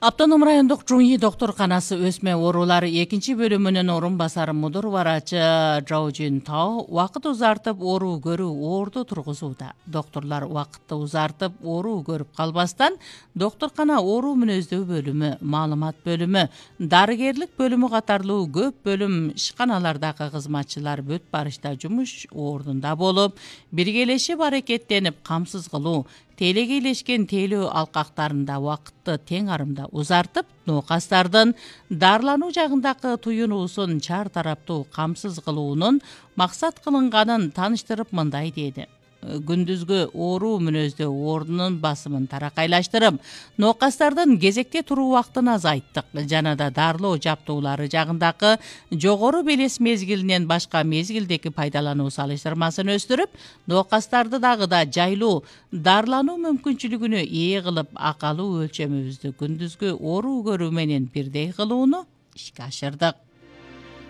Автоном райондук Жуңи докторканасы өсмө оорулары 2-бөлүмүнүн орун басары мудур барачы Жаужин Тао убакыт узартып оору көрүү оорду тургузууда. Докторлор убакытты узартып оору көрүп калбастан докторкана оору мүнөздөө бөлүмү, маалымат бөлүмү, дарыгерлик бөлүмү катарлуу көп бөлүм ишканалардагы кызматчылар бүт барышта жумуш ордунда болуп, биргелешип аракеттенип камсыз кылуу, телеге илешкен тейлөө алкактарында убакытты тең арымда узартып, ноокастардын дарылануу жагындагы туюнуусун чар тараптуу камсыз кылуунун максат кылынганын тааныштырып мындай деди. Күндүзгү оору мүнөздөө ордунун басымын таракайлаштырып, ноокастардын кезекте туруу убактын азайттык жана да дарылоо жаптуулары жагындагы жогору белес мезгилинен башка мезгилдеги пайдалануу салыштырмасын өстүрүп, ноокастарды дагы да жайлуу дарылануу мүмкүнчүлүгүнө ээ кылып, акалуу өлчөмүбүздү күндүзгү оору көрүү менен бирдей кылууну ишке ашырдык.